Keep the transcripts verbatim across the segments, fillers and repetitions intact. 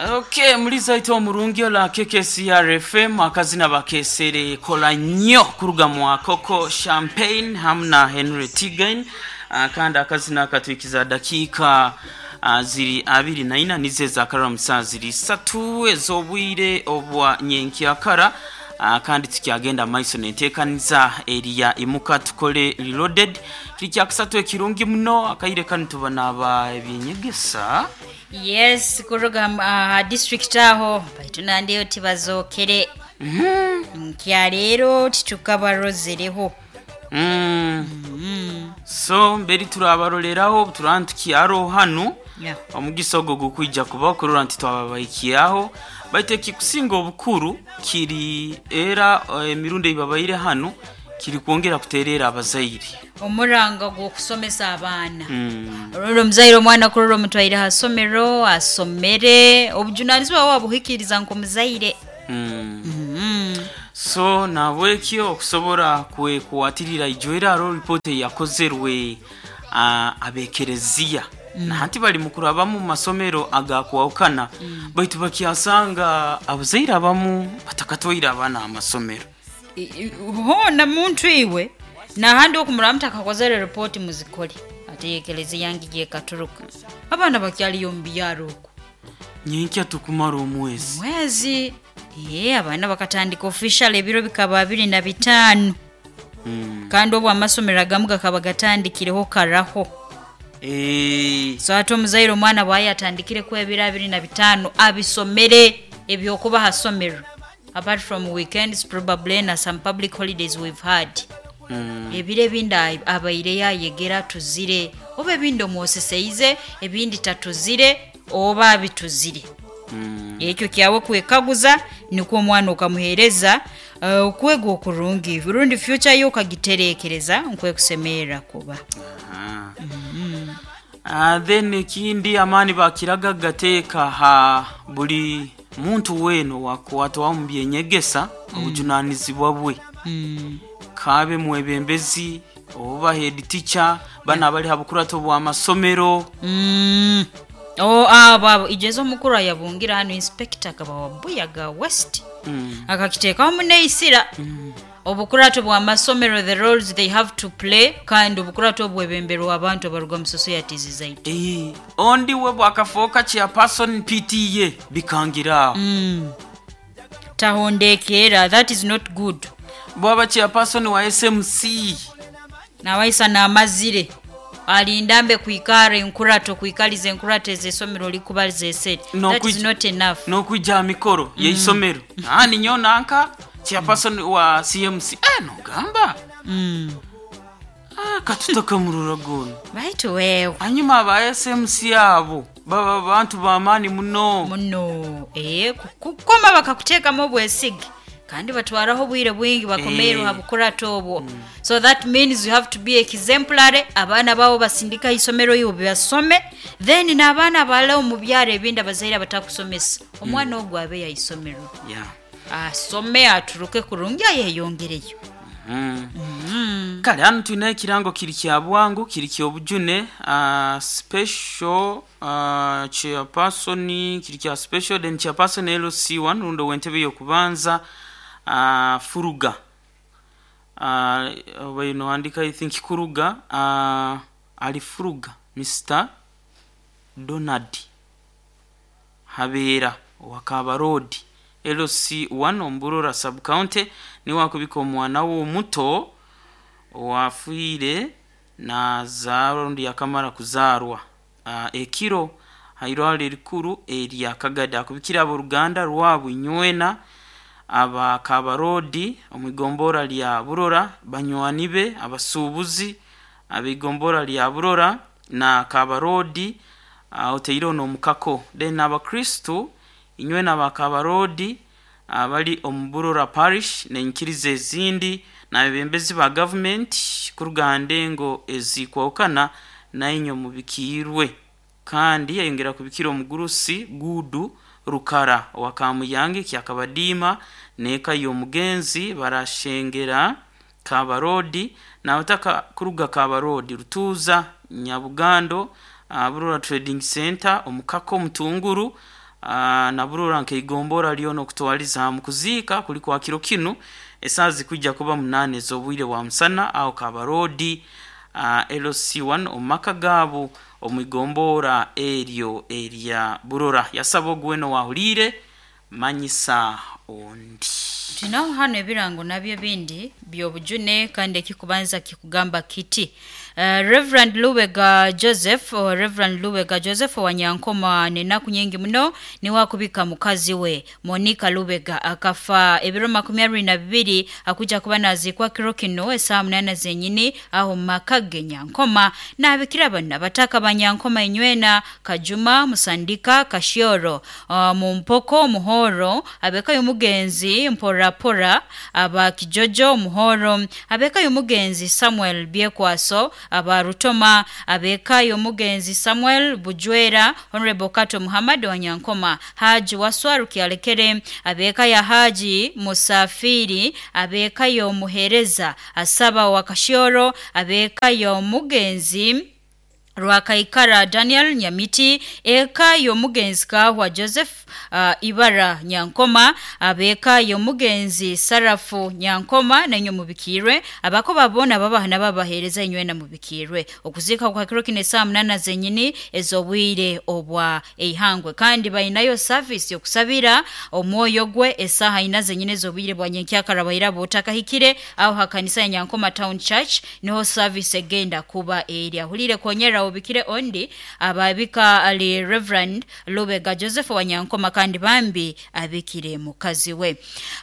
Okay, muliza ito omurungi ola K K C R F M. Akazina bakesere "Kola Nnyo" kuruga mu Coco Champagne hamu na Henry Tigain. uh, kandi akazina akatwikiza dakiika uh, ziri abiri na ina nizo ezakarara musaa ziri satu ez'obwire obwa nyenkyakara. uh, kandi tukyagenda maiso nenteekaniza eriya Imuka Tukole Reloaded. Kiri kyakusatu ekirungi muno, akaire kanu tuba naba ebyenyegesa. Yes, kuruga uh, district aho baitu nandiyo tibazokere nkya leero titukabarozereho. Mm. So mberi turabaroleraho turaba tukyaro hanu. Yeah. Omugisa ogwo gukwija kubaho kurora nti twababaikiaho, baitu ekikusinga obukuru kiri era eh, emirundi eibabaire hanu kiri kwongera kuterera abazaire. Omuranga gw'okusomesa abaana. mm. Olwo omuzaire omwana kurora omutwaire ha somero asomere, obujunanizibwa bwe wabuhikiriza nk'omuzaire. Mm. mm. So nabwekyo okusobora kwekwatirira ijo aro ripoti eyakozerwe uh, abekereziya mm. Nahanti bali mukurabamu mu masomero agakwawukana mm. baitu bakyasanga abazaire abamu batakatwaire abaana amasomero. I- i- hona muntu iwe nahandi okumuraba mutakakozere ripoti muzikole, ate ekereziya yange gyekaturuka abaana bakyaliyo mu byaro okwo. Nyenkya tukumara omwezi. Mwezi, ye abaana bakatandika official ebiro bikaba abiri na bitaano. mm. Kandi obwo amasomero agamu gakaba gatandikireho karaho. e, So ate omuzaire omwana bwaye atandikire ku ebiro abiri na bitaano abisomere ebyokuba ha somero, apart from weekends probably na some public holidays we've had. mm. Ebiro ebindi ai- abaire yayegera tuzire, oba ebindi omwoseseize, ebindi tatuzire oba abituzire. Mm. Ekyo kyawe kwekaguza nikwo omwana okamuheereza uh, okwega okurungi rundi future yo okagiterekereza nkwekusemerera kuba. Ah. Ah, then ekindi amaani bakiraga gateeka ha buli muntu weeno wakwatwaho mu byenyegesa obujunanizibwa bwe, mm. kabe mwebembezi oba head teacher, bana abali ha bukurato bw'amasomero. Mm. Oh, abo abo ijeza omukuru ayabungira hano, inspector akaba wa Buyaga West, mm. akakiteekaho muneisira obukurato bw'amasomero, the roles they have to play, kandi obukurato obwebemberwa abantu abaruga mu societies zaitu. Eh, ondi we bwakafooka chairperson P T A bikangira aho. mm. tahondekeera that is not good. Bwaba chairperson wa S M C. Nawaisa namazire alindambe kwikara enkurato kwikaliza enkurato ez'esomero likuba zesete. That is N'okwij- not enough. N'okwijja ha mikoro yeisomero, ah, ninyo nanka chairperson wa C M C, eh, nogamba, mm. ah, katutakamurura gono. Baitu wewe. Hanyuma aba S M C abo baba bantu bamaani muno. Muno, eh, kukoma bakakuteekamu obwesige kandi batwaraho obwire bwingi bakomeirwe Eh. ha bukurato obwo. So that means you have to be exemplary. Abaana babo basindika isomero ibo basome, then n'abaana abalala omu byaro ebindi abazaire abatakusomesa omwana ogwo abe yaisomero, yeah. asome aturuke kurungi ayeyongereyo. mm. Kale hano tulina ekirango kiri kya bwangu, kiri kyobujune, uh, special uh, chairperson, kiri kya special then chairperson L C one rundo wentebe yokubanza, uh, furuga, uh, oba ino andika, I think kuruga, uh, ali furuga Mister Donald Habeera owakabarodi L C one omburora subcounty, niwe akubika omwana we omuto owafiire nazaarwa rundi yakamara kuzaarwa uh, ekiro hairwaro erikuru erya Kagadi. Akubikira abooruganda rwabu inywena aba Kabarodi omwigombora lya Burora, banywani be abasuubuzi ab'igombora lya Burora na Kabarodi, uh, oteireho n'omukako, then abakristu inywena aba Kabarodi abali omu Burora Parish n'enyikiriza ezindi n'abebembezi ba gavumenti kuruga ha ndengo ezikwahukana nainyo mubikiirwe. Kandi yayongera kubikira omugurusi Gudu Rukara owa Kamuyange Kyakabadiima n'eka y'omugenzi barashengera Kabarodi, n'abataka kuruga Kabarodi, Rutuuza, Nyabugando, uh, Burora Trading Center, omukako Mutunguru, na Burora nkeigombora lyono okutwaliza mu kuziika kuli kwa kiro kinu esaaha zikwijja kuba munaana ez'obwire bwa musana aho Kabarodi uh, L C one omu maka gaabo omwigombora eryo erya Burora. Yasaba ogweno wahuliire manyisa ondi. Tunaho hano ebirango nabyo bindi byobujune kandi ekikubanza kikugamba kiti uh, Reverend Lubega Joseph or Reverend Lubega Joseph wa Nyankoma nenaku nyingi muno ni wakubika mukazi we Monica Lubega akafa ebiro makumi abiri na bibiri akuja kuba nazikwa kiro kino esaa munana zenyini aho makage Nyankoma na abikira bana bataka banyankoma inywena Kajuma Musandika Kashioro uh, Mumpoko Muhoro abeka yumugenzi Mpora Pora aba Kijojo Muhoro abeka yumugenzi Samuel Biekwaso aba Rutoma abeka yumugenzi Samuel Bujwera Honorable Kato Muhammad wa Nyankoma Haji Waswaru Kialekere abeka ya Haji Musafiri abeka yomuhereza asaba wa Kashioro abeka yomugenzi Rwakaikara Daniel Nyamiti eka yomugenzi Kahwa Joseph uh, Ibara Nyankoma abeka yomugenzi Sarafu Nyankoma nenyo mubikirwe abako babona babahana babahereza inywe na mubikirwe okuzika kwa kiro kine saa munana zenyini ezobwire obwa eihangwe kandi bainayo service yokusabira omwoyo gwe esaha ina zenyini ezobwire bwa nyenkyakara bayira botakahikire aho hakanisa ya Nyankoma Town Church niho service egenda kuba eri ahulire konyera obikire ondi ababika ali Reverend Lubega Joseph wa Nyankoma kandi bambi abikire mukazi we.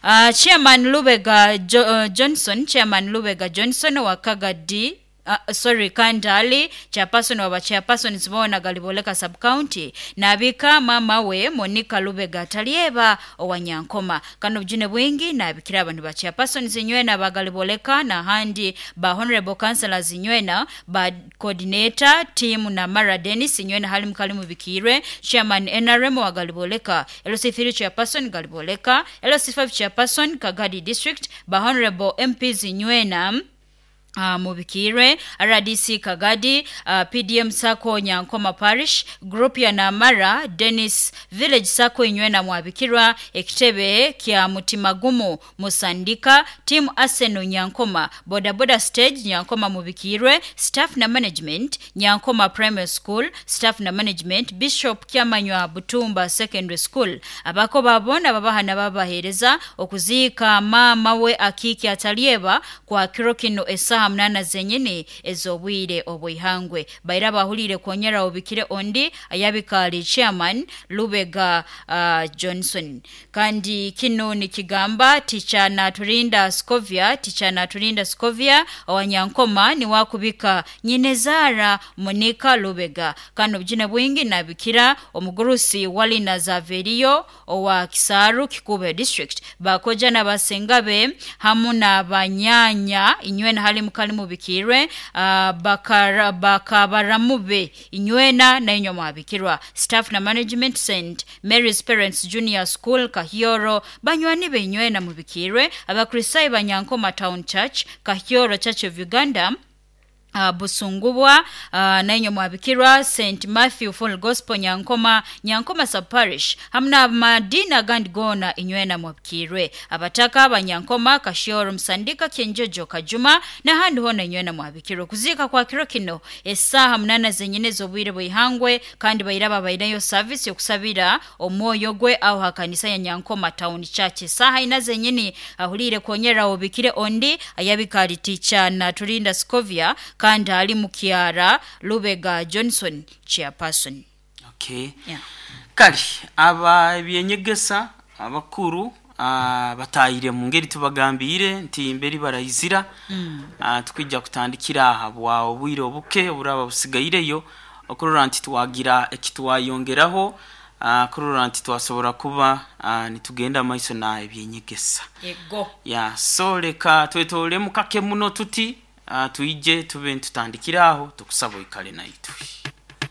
Uh, Chairman Lubega jo, uh, Johnson Chairman Lubega Johnson wa Kagadi Uh, sorry Kandali chairperson wa chairperson zibona Galiboleka sub county nabika mama we Monica Lubega Talieba owa Nyankoma kano bujune bwingi nabikira abantu ba chairperson zinywena ba Galiboleka na handi ba honorable councillors zinywena ba coordinator team na Mara Dennis inywena hali mkalimu bikirwe chairman N R M wa Galiboleka L C three chairperson Galiboleka L C five chairperson Kagadi district ba honorable M P zinywena Uh, mubikirwe R D C Kagadi uh, P D M Sako Nyankoma Parish Group ya Namara Dennis Village Sako inywena mwabikirwa ekitebe kya Mutimagumu Musandika Team Arsenal Nyankoma Boda Boda Stage Nyankoma mubikirwe Staff na Management Nyankoma Primary School Staff na Management Bishop Kyamanywa Butumba Secondary School abako babona babahana babahereza okuzika mama we Akiki Atalieba kwa kiro kino esaha munana zenyini ezobwire obwihangwe baira bahulire konyera obikire ondi ayabikali chairman Lubega uh, Johnson kandi kino nikigamba ticha na turinda Scovia ticha na turinda Scovia owanyankoma ni wakubika nyinezara Monica Lubega kano bjine bwingi nabikira omugurusi walina Zaverio owa Kisaru Kikube district bakoja na basengabe hamu na banyanya inywena hali mukali mubikirwe uh, bakara bakabaramube inywena na inyo mwabikirwa staff na management Saint Mary's Parents Junior School Kahioro banywani be inywena mubikirwe abakristayo banyankoma Town Church Kahioro Church of Uganda Uh, Busungubwa uh, nainyo mwabikirwa Saint Matthew Full Gospel Nyankoma Nyankoma sub parish hamna madina gandigona inywena mwabikirwe abataka abanyankoma Kashioro Msandika Kenjojo Kajuma na handi hona inywena mwabikirwe kuzika kwa kiro kino esaha munana zenyine zobwire bwihangwe kandi bayiraba bayinayo service yokusabira omwoyo gwe aho hakanisa ya Nyankoma Town Church esaha ina zenyini ahulire konyera obikire ondi ayabikali teacher na Turinda Scovia kandi ali mukiara Lubega Johnson chairperson. Okay. Yeah. Kali aba ebyenyegesa abakuru uh, batayire mu ngeri tubagambire nti imberi barayizira mm. uh, tukijja kutandikira aha bwa obwire obuke oburaba busigaireyo okurora nti twagira ekitwayongeraho uh, kurora nti twasobora kuba uh, nitugenda maiso na ebyenyegesa. Yego. Yeah, so leka twetole mukake muno tuti Uh, tuije tube ntutandikiraho tukusaba ikale naitwe.